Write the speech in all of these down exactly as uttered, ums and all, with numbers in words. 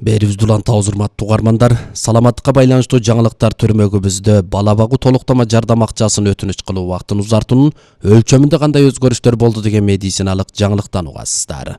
Берибизди улантабыз, урматтуу угармандар. Саламаттыкка байланыштуу жаңылыктар түрмөгүбүздө бала багуу толуктама жардам акчасын өтүнүч кылуу убактын узартуунун өлчөмүндө кандай өзгөрүштөр болду деген медициналык жаңылыктан угасыздар.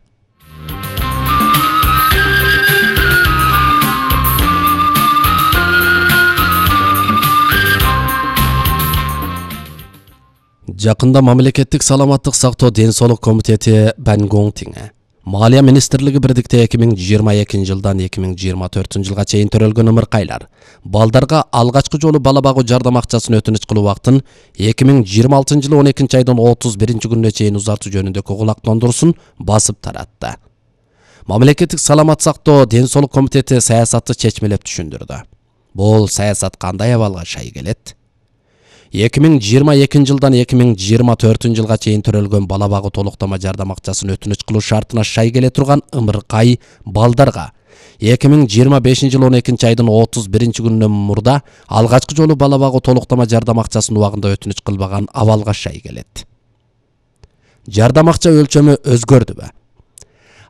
Жакында мамлекеттик саламаттык сактоо ден соолук комитети Бангоңтиңе Малия министрлиги бирдикте эки миң жыйырма экинчи жылдан эки миң жыйырма төртүнчү жылга чейин төрөлгөн ымыркайлар балдарга алгачкы жолу бала багуу жардам акчасын өтүнүч кылуу убактын эки миң жыйырма алтынчы жылы он экинчи айдын отуз биринчи күнүнө чейин узартуу жөнүндөгү кулактандыруусун басып таратты. Мамлекеттик саламат сактоо ден соолук комитети саясатты чечмелеп түшүндүрдү. Бул саясат кандай абалга шай келет? эки миң жыйырма экинчи жылдан эки миң жыйырма төртүнчү жылга чейин төрөлгөн бала багуу толуктама жардам акчасын өтүнүч кылуу шартына шай келе турган ымыркай балдарга эки миң жыйырма бешинчи жылы он экинчи айдын отуз биринчи күнүнөн мурда алгачкы жолу бала багуу толуктама жардам акчасын убагында өтүнүч кылбаган абалга шай келет. Жардам акча өлчөмү өзгөрдүбү?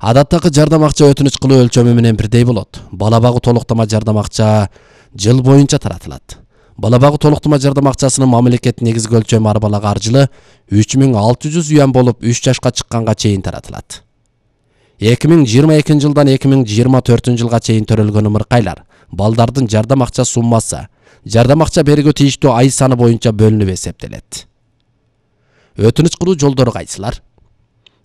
Адаттагы жардам акча өтүнүч кылуу өлчөмү менен бирдей болот. Бала багуу толуктама жардам акча жыл боюнча таратылат. Бала багуу толуктама жардам акчасынын мамлекет негизги өлчөмү арбалак аржылы үч миң алты жүз юан болуп үч жашка чыкканга чейин таратылат. эки миң жыйырма экинчи жылдан эки миң жыйырма төртүнчү жылга чейин төрөлгөн ымыркайлар балдардын жардам акча суммасы жардам акча берүүгө тийиштүү ай саны боюнча бөлүнүп эсептелет. Өтүнүч кылуу жолдору кайсылар?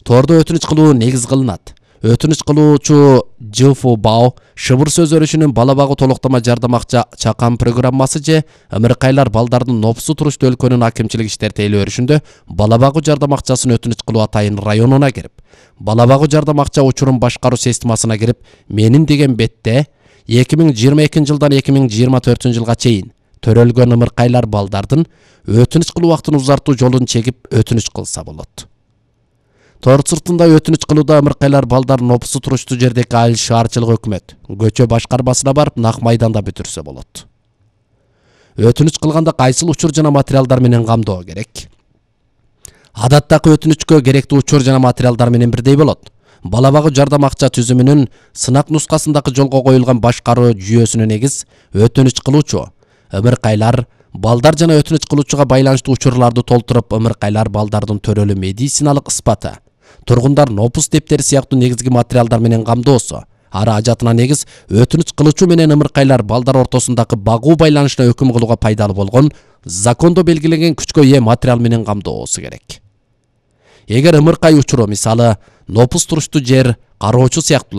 Тордо өтүнүч кылуу негиз кылынат. Өтүнүч кылуучу Ж Ф Бао шыбыр сөз өрүшүнүн бала багуу толуктама жардам акча чакан программасы же ымыркайлар балдардын нопсу туруштуу өлкөнүн акимчилик иштер тейлөө өрүшүндө бала багуу жардам акчасын өтүнүч кылуу атайын районуна кирип, бала багуу жардам акча учурун башкаруу системасына кирип, менин деген бетте эки миң жыйырма экинчи жылдан эки миң жыйырма төртүнчү жылга чейин төрөлгөн ымыркайлар балдардын өтүнүч кылуу убактын узартуу жолун чегип өтүнүч кылса болот. Тор сыртында өтүнүч кылууда ымыркайлар балдар нопсу туруштуу жердеги айыл шаарчылык өкмөт көчө башкармасына барып нак майданда бүтүрсө болот. Өтүнүч кылганда кайсыл учур жана материалдар менен камдоо керек? Адаттагы өтүнүчкө керектүү учур жана материалдар менен бирдей болот. Бала багуу жардам акча түзүмүнүн сынак нускасындагы жолго коюлган башкаруу жүйөсүнө негиз өтүнүч кылуучу ымыркайлар балдар жана өтүнүч кылуучуга байланыштуу учурларды толтуруп, ымыркайлар балдардын төрөлүү медициналык ыспаты, тургундар нопус дептери сыяктуу негизги материалдар менен камдоосу, ары ажатына негиз өтүнүч кылуучу менен ымыркайлар балдар ортосундагы багуу байланышына өкүм кылууга пайдалуу болгон закондо белгиленген күчкө ээ материал менен камдоосу керек. Эгер ымыркай учуру, мисалы, нопус туруштуу жер кароочу сыяктуулар